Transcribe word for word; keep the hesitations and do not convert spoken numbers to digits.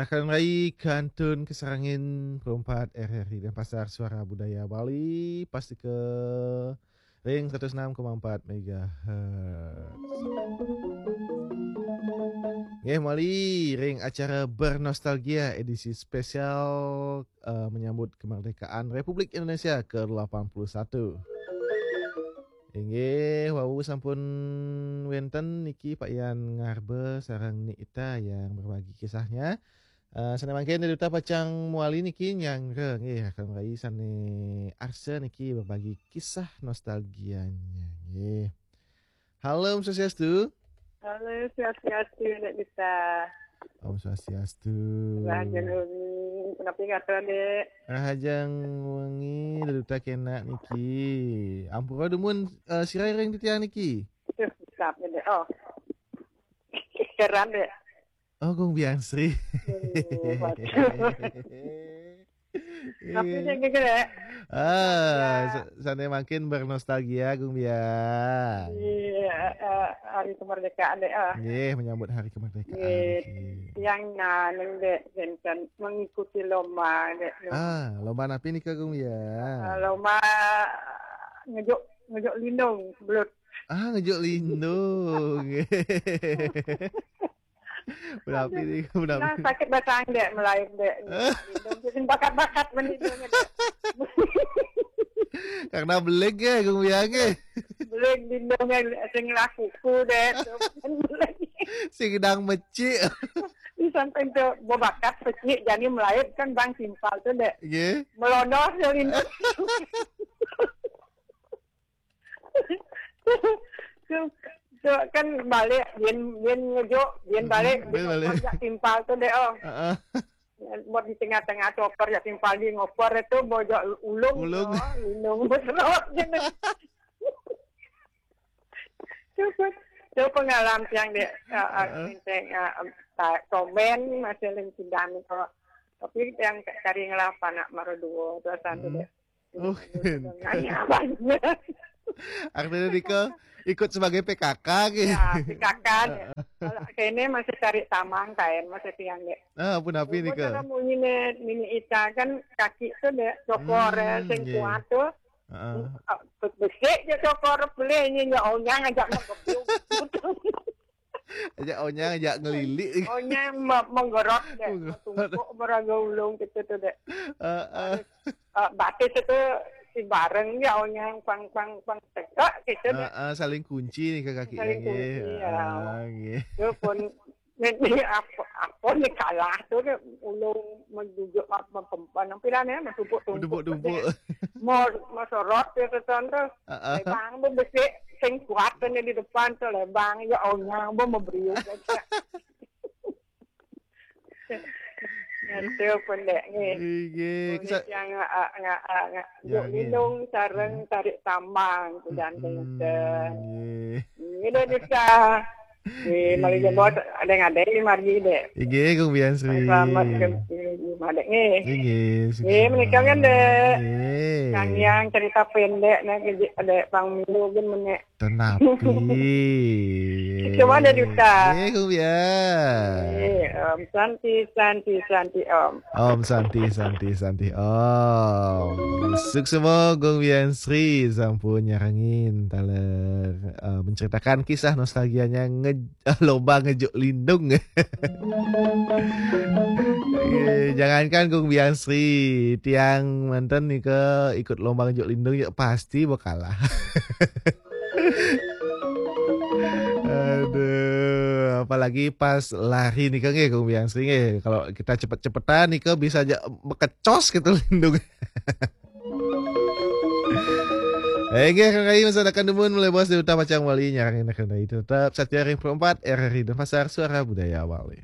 Akan rai kantun kasarengin perempat R R I Denpasar, Suara Budaya Bali, pasti ke ring seratus enam koma empat megahertz. Nggih, mawali ring acara Bernostalgia edisi spesial, eh, menyambut kemerdekaan Republik Indonesia kedelapan puluh satu. Inggih, wau sampun wenten niki Pak Yan Ngarbe sareng Ni Ita yang berbagi kisahnya. Eh, sane mangkin Ni Ita pacang mawali niki nyanggra nggih, akan rai sane arsa niki berbagi kisah nostalgianya nggih. Halo, Om Swastiastu. Halo, Swastiastu, Nek Dita. Om Swastiastu. Rahajeng wengi, punapi ngatur, Dek? Rahajeng wengi, Ni Ita kena niki. Ampura dumun, eh, sira ring titiang niki. Duh, besap, Dek. Oh. Keran, Dek. Oh, Gung Bian Sri. Duh, waduh. Tapi Iya. Dek, gitu, Dek. Ah, Ya. sa-, sane mangkin bernostalgia, Gung Bian. Iya, eh, hari kemerdekaan, Dek, ah. Nggih, menyambut hari kemerdekaan Nggih, niki. Tiang nganeng, Dek, janten mengikuti lomba, Dek. Ah, lomba napi nika, Gung Bian? Ah, lomba ngejuk, ngejuk lindung, belut. Ah, ngejuk lindung. Punapi Aduh, nika, punapi? Nah, sakit batang, Dek, melaib, Dek. Lindung, sing bakat-bakat mendindung, Dek. Karena beleg ya, Gung Bian, nggih. Beleg lindung yang sing lakuku, Dek. Sing gedang mecik. Di samping tu, bebakat pecik, jani melaib kan bang timpal tu, Dek. Nggih. Melodoh tu lindung. Tu, tu kan balik, yen, yen ngejuk, yen Mm-mm, balik, yen balik. Ngopor jak timpal tu, Dek, oh. Heeh. Buat di tengah-tengah tu opor jak timpal di ngopor tu, bojok ulung, Ulung. Oh, lindung beserot je. Tu pun, tu pengalaman tiang, Dek, ah, ah, Heeh. Enteng, ah, ah, ta-, tomen masih ling sidang tu. Tapi tiang cari ngelapa nak mara dua, tu santu, Mm. Dek. Oh. Nanya banyak. Artinya nika ikut sebagai P K K, gitu. Ya, P K K, Dek. Heeh. Kalau kene masih cari tamang kain, masih tiang, Dek. Ah, punapi nika? Cara munyi ne, Nini Ita kan kaki tu, Dek, cokor, eh, Hmm, sing nggih. Kuat tu. Heeh. Ah, be-, besik je cokor, boleh nyi, nyi onyang ajak ngegebyuk. Ajak onyang, ajak ngelilik. Onyang me-, menggorot, Dek. Menggorot. Tumpuk meraga ulung gitu tu, Dek. Heeh. Harus, ah, batis itu si bareng ya onyang pang, pang, pang tegak gitu, Dek. Heeh, saling kunci nika kaki. Saling nggih. Kunci, ya. Heeh, nggih. Tu pun, ni, ni apa, apa ni kalah tu, Dek. Ulung menjujuk apa, mempan, nampilan ya, mentumpuk-tumpuk tu, Dek. Mentumpuk-tumpuk. Mau, mau sorot ya, tu, tu. Heeh. Lebang tu besik, sing kuat tu ni di depan tu, lebang, ya onyang, bu, memberiuk aja. Itu pun, Dek, nggih. Nggih, nggih. Boleh kesa- yang nga-, nga-, nga-, nga-, Yang nggih. Lindung sareng Hmm. Tarik tambang, tu dan Mm-mm, tengah. Nggih. Nggih, Dek, bisa. Nggih, mari Nggih. Jebos, ada yang ada di margi, Dek. Nggih, Gung Bian Sri. Selamat ke, ke, ke, Dek, nggih. Nggih, nggih, sukses. Nggih, menikah kan, Dek. Nggih. Yang, yang cerita pendek, nah, ke, Dek, Pang Milu kan menek. Tenapi. Cuma ada duta. Nggih, Gung Bian. Nggih, Om Santi, Santi, Santi, Om. Om Santi, Santi, Santi, Om. Suksma Gung Bian Sri sampun nyarengin taler, eh, menceritakan kisah nostalgianya nge-, lomba ngejuk lindung. Eh, jangankan Gung Bian Sri, tiang manten nika ikut lomba ngejuk lindung ya pasti bakalah. Aduh, apalagi pas lari nika nggih, Gung Bian Sri nggih. Kalau kita cepet-cepetan nika bisa aja bekecos gitu lindung. Eh, nggih, Kang Rai, masa akan dumun mulai bos di utama cang wali nyarang enak Kang Rai. Tetap setia ring empat R R I Denpasar, Suara Budaya Bali.